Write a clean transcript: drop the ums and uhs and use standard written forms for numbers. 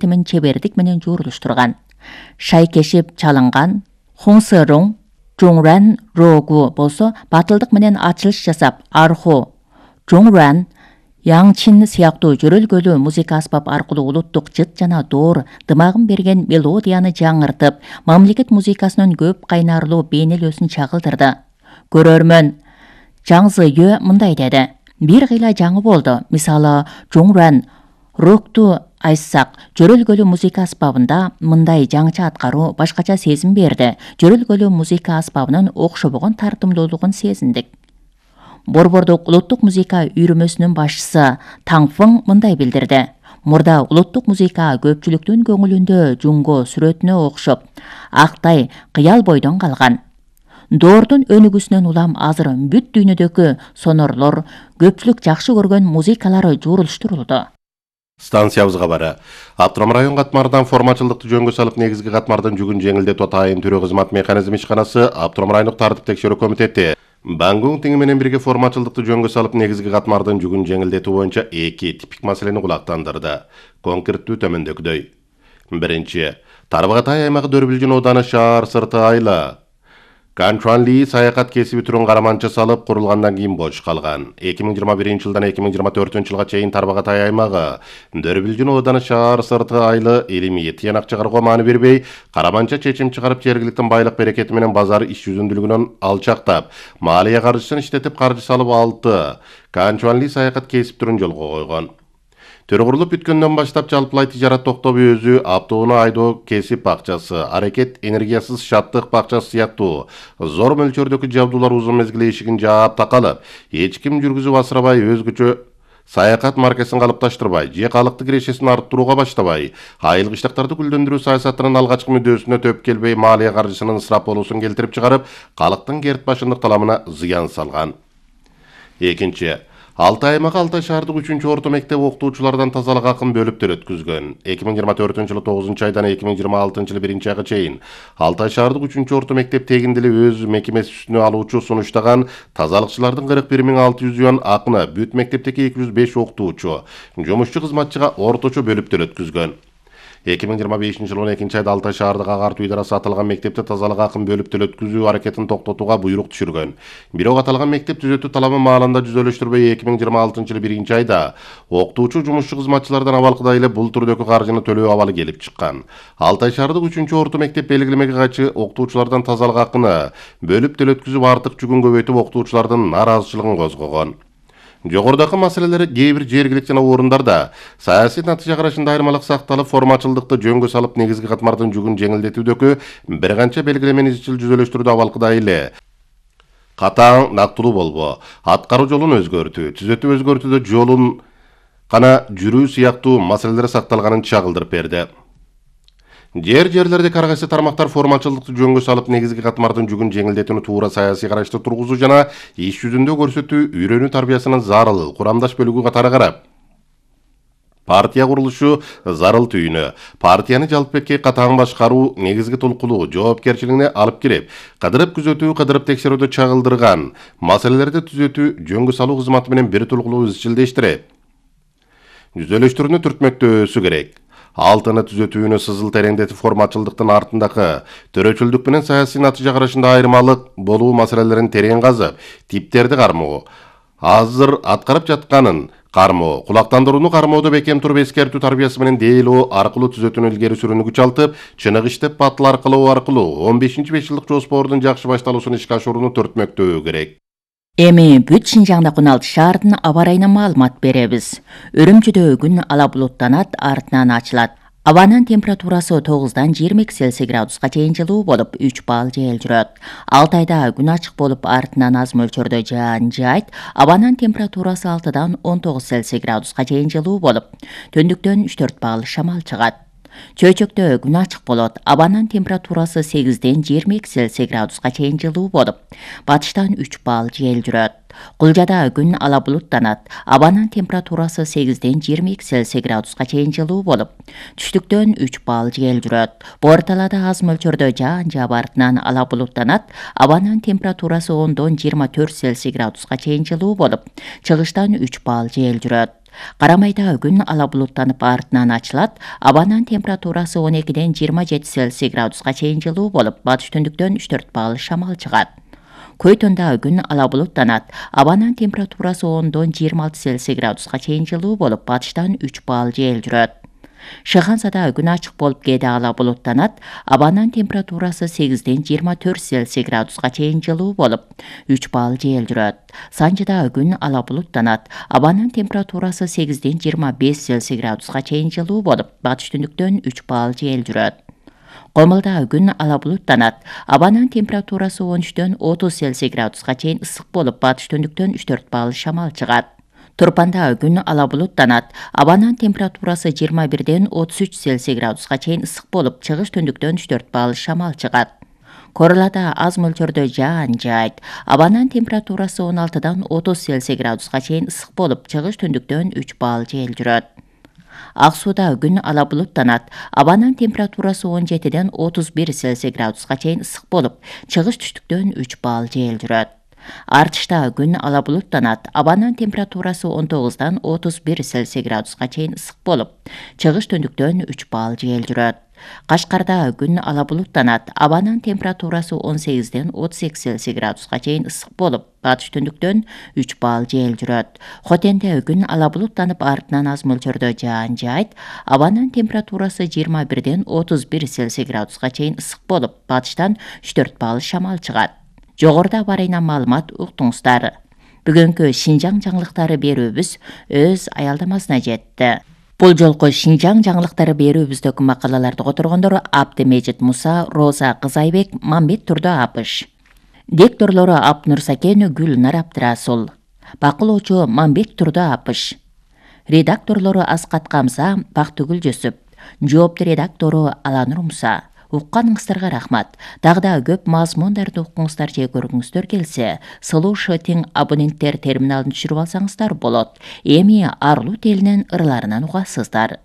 темин чебердик менен жуурулуштурган. Шайкешип чалынган Хунсырung, Жуңран рогу болсо батылдык менен ачылыш жасап, арху, Жуңран, Яңчин сыяктуу жөрөлгөлүү музыка аспап аркылуу улуттук жыт жана доор дымагын берген мелодияны жаңыртып, мамлекет музыкасынын көп кайнарлуу бейнелөөсүн чагылдырды. Көрөрмөн Жаңзыйö мындай деди: бир кыйла жаңы болду. Мисалы, Жуңран рокту айтсак, жөрөлгөлүү музыка аспабында мындай жаңыча аткаруу башкача сезим берди. Жөрөлгөлүү музыка аспабынын окшобогон тартымдуулугун сезиндик. Борбордук улуттук музыка үйрөмөсүнүн башчысы Таңфың мындай билдирди: мурда улуттук музыка көпчүлүктүн көңүлүндө жунго сүрөтүнө окшоп, актай кыял бойдон калган. Доордун өнүгүүсүнөн улам азыр бүт дүйнөдөгү сонорлор көпчүлүк жакшы көргөн музыкалары жуурулуштурулду. Станциябызга бары. Автоном район катмардан формачылдыкты жөнгө салып негизги катмардын жүгүн жеңилдетүү атайын түрөө кызмат механизми ишканасы Автоном райондук тартип текшерүү комитети Бангун тиңи менен бирге формачылдыкты жөнгө салып негизги катмардын жүгүн жеңилдетүү боюнча 2 типик маселени кулактандырды. Конкреттүү төмөндөгүдөй. Биринчи, Тарбагатай аймагы Дөрбүлжүн ооданы шаар сырты айла Канчуанли саякат кесиби түрүн караманча салып курулгандан кийин бош калган. 2021-жылдан 2024-жылга чейин Тарбагатай аймагы Дөрбүлжүн ооданы шаар сырты айлы илимий тыянак чыгарууга маани бербей, караманча чечим чыгарып жергиликтин байлык берекети менен базар иш жүзүндүүлүгүнөн алчактап, маалия каржысын иштетип каржы салып 6 Канчуанли саякат кесип түрүн жолго койгон. Төрө курулуп бүткөндөн баштап жалпылай тижарат токтоп өзү автоунаа айдоо кесип бакчасы, аракет энергиясыз шаттык бакчасы сыяктуу зор мөлчөрдөгү жабдуулар узун мезгил эшигин жаап такалып, эч ким жүргүзүп асырабай, өзгөчө саякат маркасын калыпташтырбай, же калыкты кирешесин арттырууга баштабай, айылгычтыктарды гүлдөндүрүү саясатынын алгачкы мүдөөсүнө төп келбей, маалия каржысынын ысырап болуусун келтирип чыгарып, калктын керт башындык таламына зыян салган. Экинчи, Алтай аймагы Алтай шаардык 3-орто мектеп окутуучулардан тазалык акын бөлүп төлөткүзгөн. 2024-жылы 9-айдан 2026-жылы 1-айга чейин Алтай шаардык 3-орто мектеп тегиндили өз мекемеси үстүнө алуучу сунуштаган тазалыкчылардын 41.600 юан акыны бүт мектептеги 205 окутуучу, жумушчу кызматчыга орточо бөлүп төлөткүзгөн. 2025-жылы 12-айда Алтай шаардык агартуу идарасы аталган мектепте тазалык акын бөлүп төлөткүзүү аракетин токтотууга буйрук түшүргөн. Бирок аталган мектеп түзөтүү талабы маалында жүзөлөштүрбөй 2026-жылы 1-айда окутуучу жумушчу кызматчылардан абалкыдай эле бул түрдөгү каржыны төлөө абалы келип чыккан. Алтай шаардык 3-орто мектеп белгилемеге кайчы окутуучулардан тазалык акыны бөлүп төлөткүзүп артык жүгүн көбөйтүп окутуучулардын нааразычылыгын козгогон. Жогорудагы маселелер кээ бир жергиликтүү жана орундарда саясий натыйжа карашында айырмалык сакталып, формачылдыкты жөнгө салып негизги катмардын жүгүн жеңилдетүүдөгү бир канча белгилемени изчил жүзөлөштүрүүдө абалкыдай эле катаң, нактылуу болбоо, аткаруу жолун өзгөртүү, түзөтүү өзгөртүүдө жолун гана жүрүү сыяктуу маселелер сакталганын чагылдырып берди. Жерлерде ар кайсы тармактар формачылдыкты жөнгө салып негизги катмардын жүгүн жеңилдетүүнү туура саясий карашты тургузуу жана иш жүзүндө көрсөтүү, үйрөнүү тарбиясынын зарыл курамдаш бөлүгү катары карап, партия курулушу зарыл түйүнү, партияны жалпыбекке катаң башкаруу негизги толкулуу жоопкерчилигине алып кирип, кыдырып күзөтүү, кыдырып текшерүүдө чагылдырган маселелерди түзөтүү, жөнгө салуу кызматы менен бир толкулуу изчилдештирип, жүзөлөштүрүүнү түртмөктөөсү керек. Алтыны түзөтүүнү сызыл тереңдетип, формачылдыктын артындагы төрөчүлдүк менен саясий натыйжа карашында айырмалык болуу маселелерин терең казып, типтерди кармоо, азыр аткарып жатканын кармоо, кулактандырууну кармоодо бекем туруп эскертүү тарбиясы менен дээлөө аркылуу түзөтүүнү илгери сүрүүнү күч алтып, чынык иштеп батыл аркылуу 15-5 жылдык жоспордун жакшы башталуусун ишке ашырууну түртмөктөө керек. Эми бүт Шинжаңда 16 шаардын аба ырайына маалымат беребиз. Үрүмчүдө күн ала булуттанат, артынан ачылат. Абанын температурасы 9-дан 22 Цельсий градуска чейин жылуу болуп, 3 балл жел жүрөт. Алтайда күн ачык болуп, артынан аз мөлчөрдө жаан жаайт. Абанын температурасы 6-дан 19 Цельсий градуска чейин жылуу болуп, төндүктөн 3-4 балл шамал чыгат. Чөйчөктө күн ачык болот. Абанын температурасы 8-ден 22 Цельсий градуска чейин жылуу болуп, батыштан 3 балл жел жүрөт. Кулжада күн ала булуттанат. Абанын температурасы 8-ден 22 Цельсий градуска чейин жылуу болуп, түштүктөн 3 балл жел жүрөт. Борталада аз мөлчөрдө жаан жаап, артынан ала булуттанат. Абанын температурасы 10-дон 24 Цельсий градуска чейин жылуу болуп, чыгыштан 3 балл жел жүрөт. Карамайда күн ала булуттанып артынан ачылат. Абанын температурасы 12-ден 27 Цельсий градуска чейин жылуу болуп, батыш түндүктөн 3-4 балл шамал чыгат. Көйтөндө күн ала булуттанат. Абанын температурасы 10-дон 26 Цельсий градуска чейин жылуу болуп, батыштан 3 балл жел жүрөт. Шыгансада күн ачык болуп, кээде ала булуттанат. Абанын температурасы 8-ден 24 Цельсий градуска чейин жылуу болуп, 3 балл жел жүрөт. Санжыда күн ала булуттанат. Абанын температурасы 8-ден 25 Цельсий градуска чейин жылуу болуп, батыш түндүктөн 3 балл жел жүрөт. Комулда күн ала булуттанат. Абанын температурасы 13-дөн 30 Цельсий градуска чейин ысык болуп, батыш түндүктөн 3-4 балл шамал чыгат. Турпанда күн ала булуттанат. Абанын температурасы 21-ден 33 Цельсий градуска чейин ысык болуп, чыгыш түндүктөн 3-4 балл шамал чыгат. Королада аз мөлчөрдө жаан жаайт. Абанын температурасы 16-дан 30 Цельсий градуска чейин ысык болуп, чыгыш түндүктөн 3 балл жел жүрөт. Ак сууда күн ала булуттанат. Абанын температурасы 17-ден 31 Цельсий градуска чейин ысык болуп, чыгыш түштүктөн 3 балл жел жүрөт. Артышта күн ала булуттанат. Абанын температурасы 19-дан 31 Цельсий градуска чейин ысык болуп, чыгыш түндүктөн 3 балл жел жүрөт. Кашкарда күн ала булуттанат. Абанын температурасы 18-ден 32 Цельсий градуска чейин ысык болуп, батыш түндүктөн 3 балл жел жүрөт. Хотенде күн ала булуттанып, артынан аз мөлчөрдө жаан жаайт. Абанын температурасы 21-ден 31 Цельсий градуска чейин ысык болуп, батыштан 3-4 балл шамал чыгат. Жогоруда барайна маалымат уктуңуздар. Бүгүнкү Шинжаң жаңылыктары берүүбүз өз аялдамасына жетти. Бул жолку Шинжаң жаңылыктары берүүбүздөгү макалаларды которгондор Абдымежит Муса, Роза Кызайбек, Мамбет Турдо Апыш. Дикторлору Апнур Сакен, Гүлнар Абдрасул. Бакылоочу Мамбет Турдо Апыш. Редакторлору Аскат Камза, Бактыгүл Жөсүп. Жоопту редактору Аланур Муса. Укканыңыздарга рахмат. Дагы көп мазмундарды укуңуздар же көргүңүздөр келсе, Слушатин абоненттер терминалын түшүрүп алсаңыздар болот. Эми Арлу телинен ырларынан угасыздар.